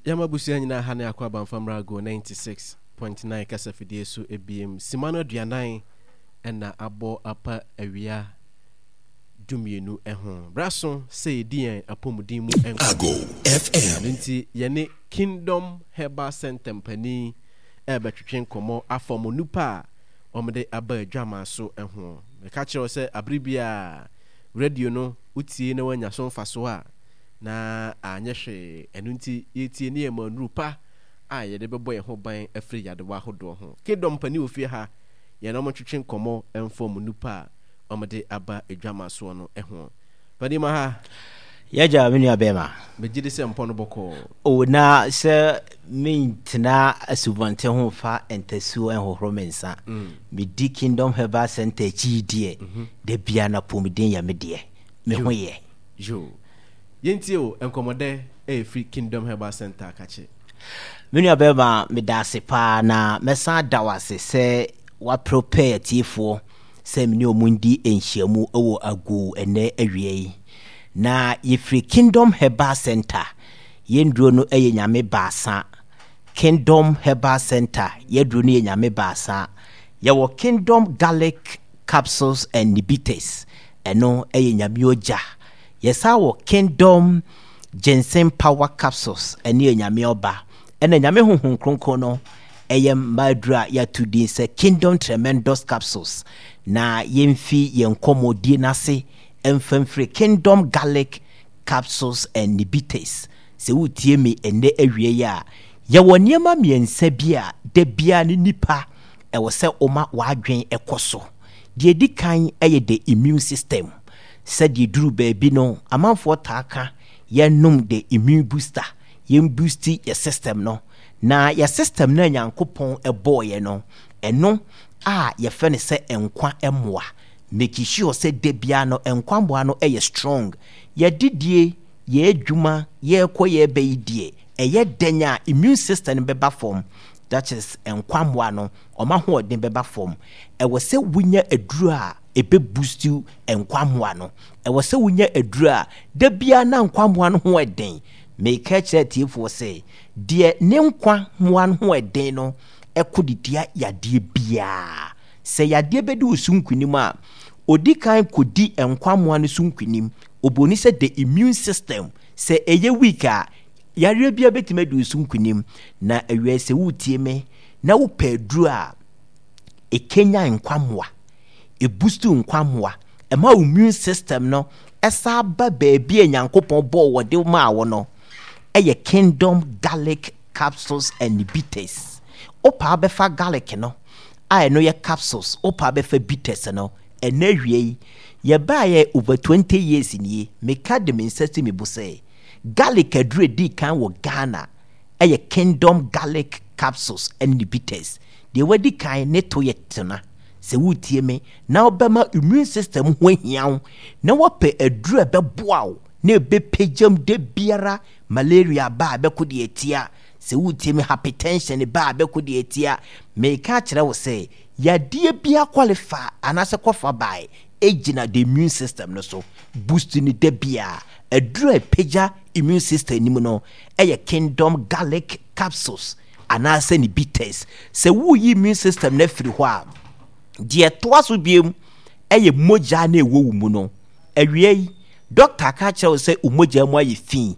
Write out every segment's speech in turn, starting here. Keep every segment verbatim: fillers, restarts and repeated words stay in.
Yɛma abusua nyinaa ha ne akɔ abanfamra Go ninety-six point nine kasafidie so ebiem. Sima no aduanan ɛna abɔ apa awia dumienu ho. Braso sɛ yɛdi yɛn apɔmuden mu nkɔmmɔ. Ago F M. Ɛno nti yɛne Kingdom Herbal Center mpanin ɛrebɛtwetwe nkɔmmɔ afa ɔmo nipa a wɔde aba adwamaa so ho. Meka kyerɛ wo sɛ abere biara radio no wotie na woanya so mfasoɔ a na anyɛ hwee. Ɛno nti yɛtie ne yɛ ma nnuru pa a yɛde bɛbɔ yɛn ho ban afiri yadewa ahodoɔ ho. Kingdom mpanin wɔ fie ha, yɛn ɔmo twetwe nkɔmmɔ ɛmfa ɔmo nipa a wɔde aba adwama soɔ no ho. Panin ma ha. Yɛgya me nua bɛrima. Megye di sɛ mpɔ no bɔkɔɔ. O, na sɛ mentena asubɔnten ho fa ntasuo nhohoro me nsa. Medi Kingdom Herbal Center akyi deɛ, da bia na pɔmuden yɛ me deɛ, me ho yɛ. Yo, yɛntie o, nkɔmmɔdɛ ɛyɛ Kingdom Herbal Center kakye. Me nua bɛrima, meda ase paa na mɛsan da wo ase sɛ waprepare atiefoɔ sɛ mene ɔmo ndi nhyiamu wɔ Ago ɛnɛ awia yi. Na yɛfiri Kingdom Herbal Center. Yɛnduro no yɛ Nyame baasa. Kingdom Herbal Center, yɛduro no yɛ Nyame baasa. Yɛwɔ Kingdom Garlic Capsules and Bitters, ɛno yɛ Nyame ogya. Yɛsan wɔ Kingdom Ginseng Power Capsules, ɛno yɛ Nyame ɔba. Ɛna Nyame Honhom Kronkron no ɛyɛ mmaaduro a yɛato din sɛ Kingdom Tremendous Capsules. Na yɛmfi yɛn nkɔmmɔdie n'ase mfa mfiri Kingdom Garlic Capsules and Bitters. Sɛ wotie me ɛnnɛ awie yi a, yɛwɔ nneɛma mmiɛnsa bi a da biara ne nipa ɛwɔ sɛ woma w'adwen ɛkɔ so. Deɛ di kan ɛyɛ the immune system. Sɛdeɛ duru baabi no, amanfoɔ taa ka yɛnom the immune booster, yɛn boost yɛ system no. Na yɛ system no a Nyankopɔn ɛbɔɔyɛ no, ɛno a yɛfrɛ no sɛ nkwa mmoa, make sure sɛ da biara no nkwa mmoa no ɛyɛ strong. Yɛdidie, yɛ adwuma, yɛrekɔ, yɛreba yi deɛ, ɛyɛ dɛn a immune system no bɛba fam, that is nkwa mmoa no ɔma ahoɔden bɛba fam. Ɛwɔ sɛ wonya aduro a ɛbɛ boost nkwa mmoa no. Ɛwɔ sɛ wonya aduro a da biara na nkwa mmoa no ho ɛden. Meka kyerɛ atiefoɔ sɛ deɛ ne nkwa mmoa no ho ɛden no ɛkɔ de tia yadeɛ biara. Sɛ yadeɛ bɛdi wo so nkonim a, odi kan kɔdi nkwa mmoa no so nkonim. Oboni sɛ the immune system sɛ ɛyɛ weak a, yareɛ biara bɛtumi adi wo so nkonim. Na awia sɛ wotie me na wopɛ aduro a ɛkenya nkwa mmoa, ɛboost nkwa mmoa, ɛma wo immune system no ɛsa ba baabi a Nyankopɔn bɔɔ wɔde maa wo no, ɛyɛ Kingdom Garlic Capsules and Bitters. Wopaa bɛfa garlic no a ɛno yɛ capsules, wopaa bɛfa bitters no. Ɛnɛ awie yi, yɛbaayɛ over twenty years nie. Meka de me nsa si me bo sɛ garlic aduro edi kan wɔ Ghana ɛyɛ Kingdom Garlic Capsules ɛne ne bitters. Deɛ wadi kan ne to yɛ tena. Sɛ wotie me na wobɛma immune system ho ahia wo na wɔpɛ aduro a ɛbɛboa wo na ɛbɛpagyam da biara, malaria ba a bɛko deɛ atia, sɛ wotie me, hypertension ba a bɛko deɛ atia, meka kyerɛ wo sɛ yadeɛ bi aqualify anaasɛ kɔfa bae ɛgyina the immune system no so. Boost ne da biara. Aduro a ɛpagya immune system nim no ɛyɛ Kingdom Garlic Capsules anaasɛ ne bitters. Sɛ woyi immune system no afiri hɔ a, deɛ ɛtoa so biem ɛyɛ mogya na ɛwɔ wo mu no. Awia yi, doctor ka kyerɛ wo sɛ wo mogya mu ayɛ fi.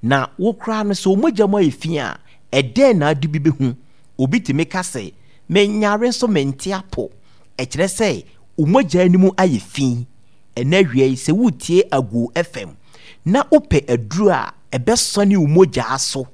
Na wo koraa no, sɛ wo mogya mu ayɛ fi a, ɛdɛn na ade bi bɛhu? Obi tumi ka sɛ menyare nso mente apo. Ɛkyerɛ sɛ wo mogya no mu ayɛ fi. Ɛnɛ awia yi, sɛ wotie Ago F M na wopɛ aduro a ɛbɛsɔne wo mogya so,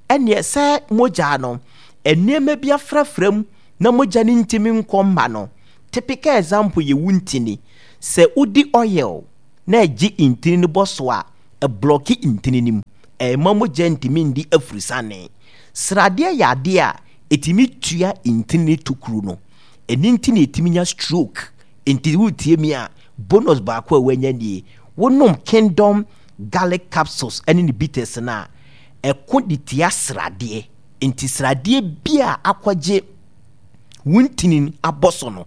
ɛneɛ sɛ mogya no nneɛma bi afrafra mu na mogya no ntumi nkɔ mma no. Typical example yɛ wo ntini. Sɛ wodi oil na ɛgye ntini no bɔ so a, ɛblock ntini no mu, ɛma mogya ntumi ndi afurusane. Sradeɛ yɛ adeɛ a ɛtumi tua ntini no tokuro no. Ɛno nti na ɛtumi nya stroke. Nti wotie mi a, bonus baako a wanya nie: wonom Kingdom Garlic Capsules ɛne ne bitters no a, ɛko de tia sradeɛ. Nti sradeɛ bi a akɔgye wo ntini abɔ so no,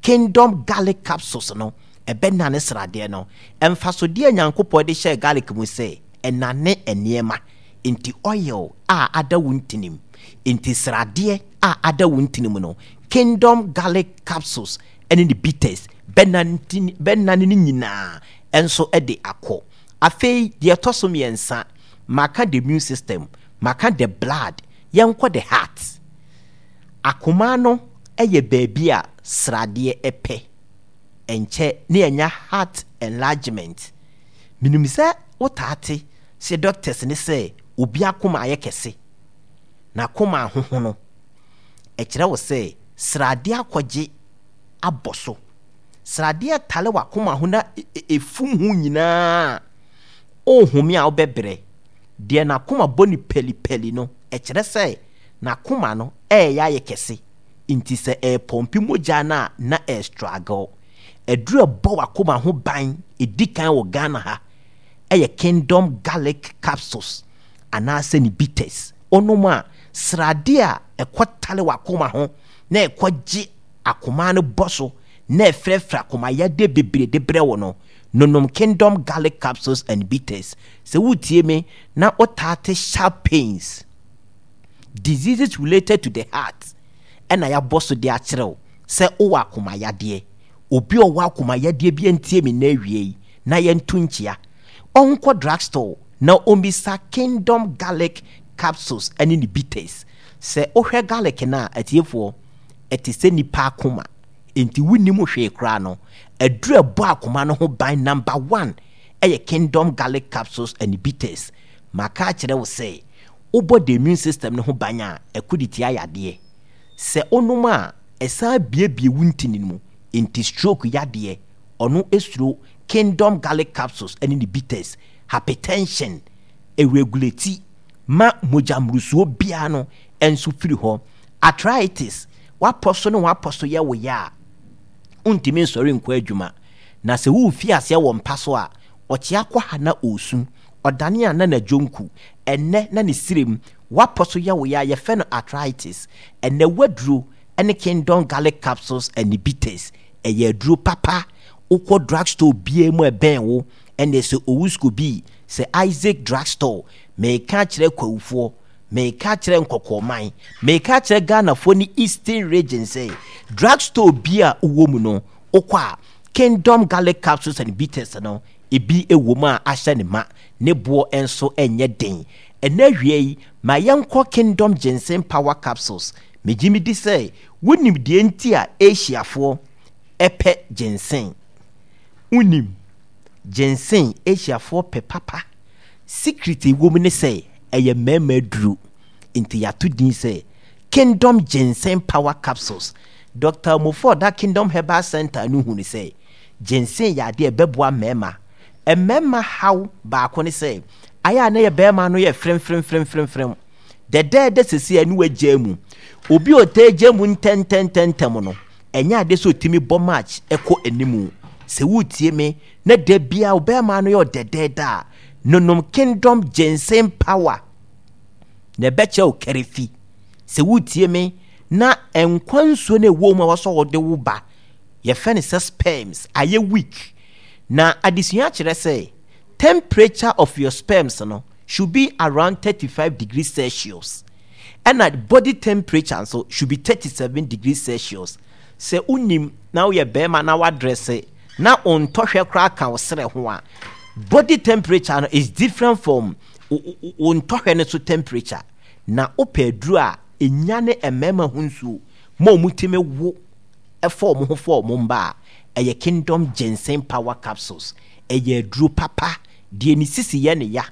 Kingdom Garlic Capsules no ɛbɛnane sradeɛ no. Mfasodeɛ a Nyankopɔn de hyɛɛ garlic mu sɛ ɛnane nneɛma. Enti oil a ada wo ntinim, enti sradeɛ a ada wo ntinim no, Kingdom Garlic Capsules ne ne bitters bɛnane ne nyinaa nso de akɔ. Afei deɛ ɛtɔ so mmiɛnsa, maka the immune system, maka the blood, yɛnkɔ the heart. Akoma no yɛ baabi a sradeɛ pɛ. Ɛnkyɛ na yɛanya heart enlargement. Menim sɛ wotaa te sɛ doctors no sɛ obi akoma ayɛ kɛse, n'akoma ahohono. Ɛkyerɛ wo sɛ sradeɛ akɔgye abɔ so. Sradeɛ tare w'akoma ho na ɛfum ho nyinaa a, wohome a wobɛbrɛ. Deɛ n'akoma bɔ no pɛlipɛli no, ɛkyerɛ sɛ n'akoma no ɛreyɛ ayɛ kɛse. Nti sɛ ɛrepɔmpe mogya no a, na ɛrestruggle. Aduru a ɛbɔ w'akoma ho ban ɛdi kan wɔ Ghana ha yɛ Kingdom Garlic Capsules anaasɛ ne bitters. Wonom a, sradeɛ a ɛkɔtare w'akoma ho na ɛkɔgye akoma no bɔ so na ɛfrɛfrɛ akoma yadeɛ bebree de brɛ wo no, nonom Kingdom Garlic Capsules and Bitters. Sɛ woretie me na wotaa te sharp pains, diseases related to the heart, ɛna yɛabɔ so de akyerɛ wo sɛ wowɔ akoma yadeɛ. Obi a ɔwɔ akoma yadeɛ bi ntie me nnɛ awie yi na yɛnto nkyia. Ɔnkɔ drugstore na ɔmmisa Kingdom Garlic Capsules ne ne bitters. Sɛ wohwɛ garlic no a, atiefoɔ, ɛte sɛ nipa akoma. Enti wonnim hwee koraa no, aduru a ɛbɔ akoma no ho ban number one yɛ Kingdom Garlic Capsules and Bitters. Maka akyerɛ wo sɛ, wobɔ the immune system no ho ban a, ɛko de tia yadeɛ. Sɛ wonom a, ɛsan biebie wo ntini no mu, enti stroke yadeɛ, ɔno suro Kingdom Garlic Capsules ne ne bitters, hypertension, ɛregulate ma mogya mmorosoɔ biara no nso firi hɔ. Arthritis, w'apɔ so ne w'apɔ so yɛ wo ya a, wontumi nsɔre nkɔ adwuma. Na sɛ worefi aseɛ wɔ mpa so a, ɔkyea kɔ ha na ɔresu, ɔdane a na n'adwonku, ɛnnɛ na ne srem, w'apɔ so yɛ wo ya a, yɛfrɛ no arthritis. Ɛnnɛ w'aduro ne Kingdom Garlic Capsules and Bitters. Ɛyɛ aduro papa. Wokɔ drugstore biara mu a ɛbɛn wo, ɛnneɛ sɛ Owusko bi, sɛ Isaac Drugstore, meka akyerɛ Kwawufoɔ, meka akyerɛ Nkɔkɔɔman, meka akyerɛ Ghanafoɔ ne Eastern Region sɛ, drugstore bi a wowɔ mu no, wokɔ a, Kingdom Garlic Capsules and Bitters no, ebi wɔ mu a ahyɛ ne ma, ne boɔ nso nyɛ den. Ɛnnɛ awia yi, ma yɛnkɔ Kingdom Ginseng Power Capsules. Megye medi sɛ wonim deɛ nti a Asiafoɔ pɛ ginseng. Wonim? Ginseng, Asiafoɔ pɛ papa. Secret a ɛwɔ mu ne sɛ, ɛyɛ mmarima aduro. Nti yɛato din sɛ Kingdom Ginseng Power Capsules. Doctor Omofo a ɔda Kingdom Herbal Center no hunu sɛ ginseng yɛ adeɛ a ɛbɛboa mmarima. Mmarima haw baako ne sɛ, ayɛ a na yɛ barima no yɛ fremfremfremfrem. Dɛdɛɛdɛ sɛsei a ne wagyaa mu. Obi a ɔtaa gya mu ntɛntɛntɛntɛm no, ɛnyɛ adeɛ sɛ ɔtumi bɔ match kɔ animu. Sɛ woretie me na da biara wo bɛrima no yɛ ɔdɛdɛɛdɛ a, nonom Kingdom Ginseng Power na ɛbɛkyerɛ wo kɛrɛfi. Sɛ woretie me na nkwa nsuo no ɛwɔ mu a wɔsɔ wɔde wo ba, yɛfrɛ no sɛ sperms, ayɛ weak. Na adesua kyerɛ sɛ temperature of your sperms no should be around thirty five degrees Celsius ɛna body temperature nso should be thirty seven degrees Celsius. Sɛ wonim na woyɛ bɛrima na wadrɛse na ontɔhwɛ koraa ka wo serɛ ho a, body temperature no is different from wo ntɔhwɛ no so temperature. Na wopɛ aduro a ɛnyane mmarima ho nsuo ma wɔn tumi wo fa wɔn ho fa wɔn mma a, ɛyɛ Kingdom Ginseng Power Capsules. Ɛyɛ aduro papa. Deɛ ne sisi yɛ no ya,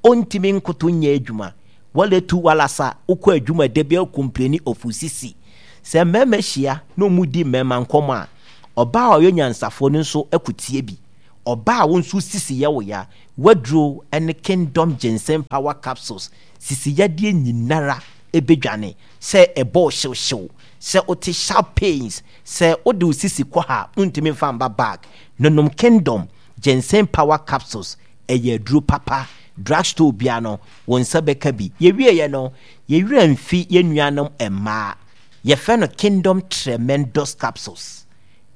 ɔntumi nkoto nyɛ adwuma, wala tu wala sa, wokɔ adwuma da biara wo complaini of wo sisi. Sɛ mmarima hyia na wɔredi mmarima nkɔmmɔ a, ɔbaa a ɔyɛ onyansafoɔ no nso kɔ tie bi. Ɔbaa a wo nso wo sisi yɛ wo ya, w'aduro ne Kingdom Ginseng Power Capsules, sisi yadeɛ nyinara bɛdwane, sɛ ɛbɔ wo hyewhyew, sɛ wote sharp pains, sɛ wode wo sisi kɔ ha a, wontumi mfa mba back, nonom Kingdom Ginseng Power Capsules, ɛyɛ aduro papa. Drugstore biara no, wo nsa bɛka bi. Yɛwieeɛ no, yɛn werɛ amfi yɛn nuanom mmaa. Yɛfrɛ no Kingdom Tremendous Capsules.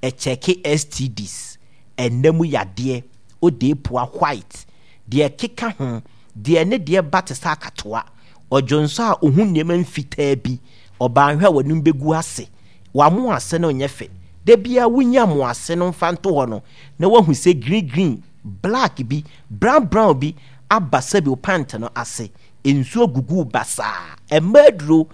Ɛkyɛke S T Ds, ɛnna mu yadeɛ, odeepua white, deɛ ɛkeka ho, Deɛ ne deɛ ba te sɛ akatoa. Ɔdwonso a ohu nneɛma mfitaa bi. Ɔbaa nhwɛ a w'anim bɛgu ase. W'amo ase no nyɛ fɛ. Da biara wonya mo ase no mfa nto hɔ no, na woahu sɛ green green, black bi, brown brown bi aba sɛbi wo pant no ase. Nsuo gugu wo basaa. Ɛmma aduro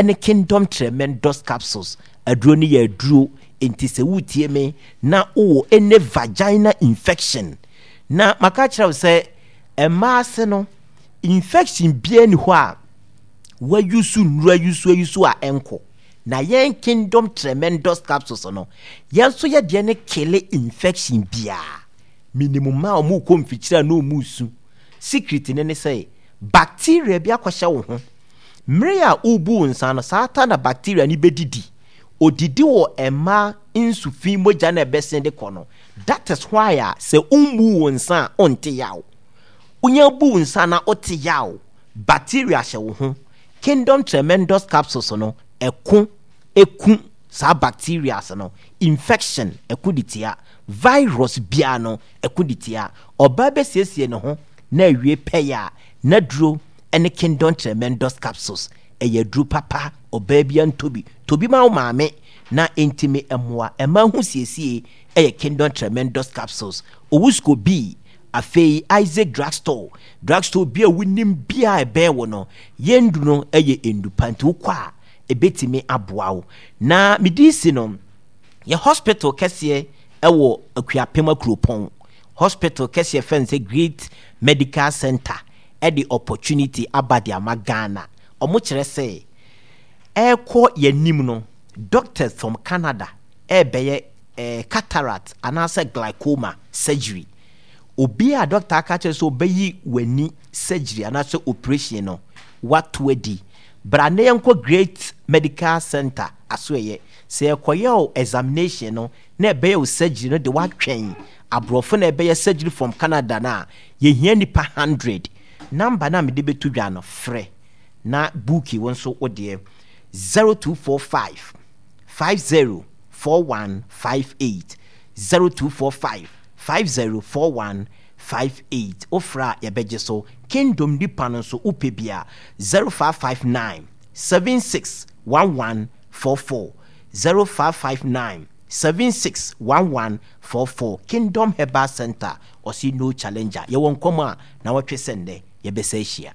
ne Kingdom Tremendous Capsules. Aduro no yɛ aduro. Enti sɛ woretie me na wowɔ any vagina infection, na maka akyerɛ wo sɛ mmaa ase no, infection biara ni hɔ a wɔayusu nnuro ayusu ayusu a ɛnkɔ. Na yɛn Kingdom Tremendous Capsules no, yɛn nso yɛ deɛ ne kele infection biara. Menim mmaa a wɔrekɔ mfikyire a na wɔresu. Secret no ne sɛ, bacteria bi akɔhyɛ wo ho. Mmere a worebu wo nsa no, saa ta na bacteria no bɛdidi. Odidi wɔ mmaa nsu fi mogya na ɛbɛsen de kɔ no. That is why a sɛ wommu wo nsa a wonte yaw. Wonya bu wo nsa na wote yaw. Bacteria hyɛ wo ho. Kingdom Tremendous Capsules no, ɛko ɛku saa bacteria no. Infection ɛko de tia. Virus biara no ɛko de tia. Ɔbaa bɛsiesie ne ho na awie pɛyɛ a n'aduro ne Kingdom Tremendous Capsules. Ɛyɛ aduro papa, ɔbaa bi antɔ bi. Tɔ bi ma wo maame na ɛntumi mmoa. Ɛma ho siesie ɛyɛ Kingdom Tremendous Capsules. Owusko B, afei Isaac Drugstore. Drugstore bi a wonim bi a ɛbɛn wo no, yɛn ndu no ɛyɛ ndupa nti wokɔ a ɛbɛtumi aboa wo. Na medi si no, yɛ hospital kɛseɛ ɛwɔ Akuapem Akuropɔn. Hospital kɛseɛ fɛn sɛ Great Medical Center ɛde opportunity aba de ama Ghana. Ɔmo kyerɛ sɛ ɛrekɔ yɛnim no, doctors from Canada ɛrebɛyɛ eh, cataract anaasɛ glaucoma surgery. Obi a doctor aka kyerɛ sɛ ɔbɛyi w'ani surgery anaasɛ operation no, wato adi. Bra na yɛnkɔ Great Medical Center aso ɛyɛ. Sɛ yɛkɔyɛ wo examination no na ɛbɛyɛ wo surgery no de watwɛn aborɔfo na ɛbɛyɛ surgery from Canada no a, yɛhia nipa hundred. Number na mede bɛto dwa no, frɛ na booki wo nso wo deɛ zero two four five five zero four one five eight zero two four five five zero four one five eight. Wofrɛ a yɛbɛgye so. Kingdom nipa no nso wopɛ bia zero five five nine seven six one one four four zero five five nine seven six one one four four. Kingdom Herbal Center, ɔsi no challenger. Yɛwɔ nkɔmɔ a na wɔtwe sɛ nnɛ yɛbɛsɛ ahyia.